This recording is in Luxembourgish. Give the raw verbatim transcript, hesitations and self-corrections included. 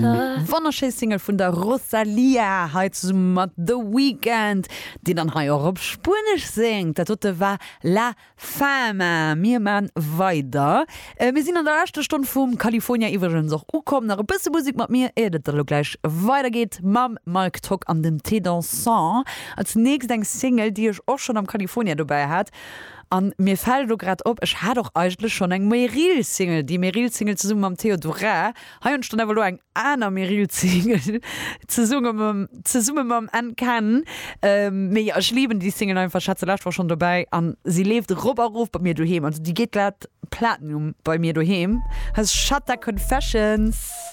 Wonnerschéi Single vun der Rosalía hei zesumme mat The Weeknd, deen dann hei och op Spuenesch séngt. Dat dote war La Fama. Mir man weider. Äh, mir sinn an der leschter Stonn vum California iwwregens och ukomm. Nach e bësse Musek mat mir, ier et dann gläich weidergeet mam Mike Tock an dem Thé Dansant. Als nächst eng Single, déi ech och schonn am California dobäi hat. An mir fält lo grad op, ech hat och eigentlech schonn eng Meryl Single, déi Meryl Single zesumme mam Theodora. Hei hunn ech dann awer lo eng aner Meryl Single zesumme mam, zesumme mam N-Ken. Ähm, mee ech lieben déi Single einfach, ech hat se lescht Woch schonn dobäi an si leeft rop a rof bei mir doheem. Also déi geet grad Platinum bei mir doheem. Dat ass Shatta Confessions.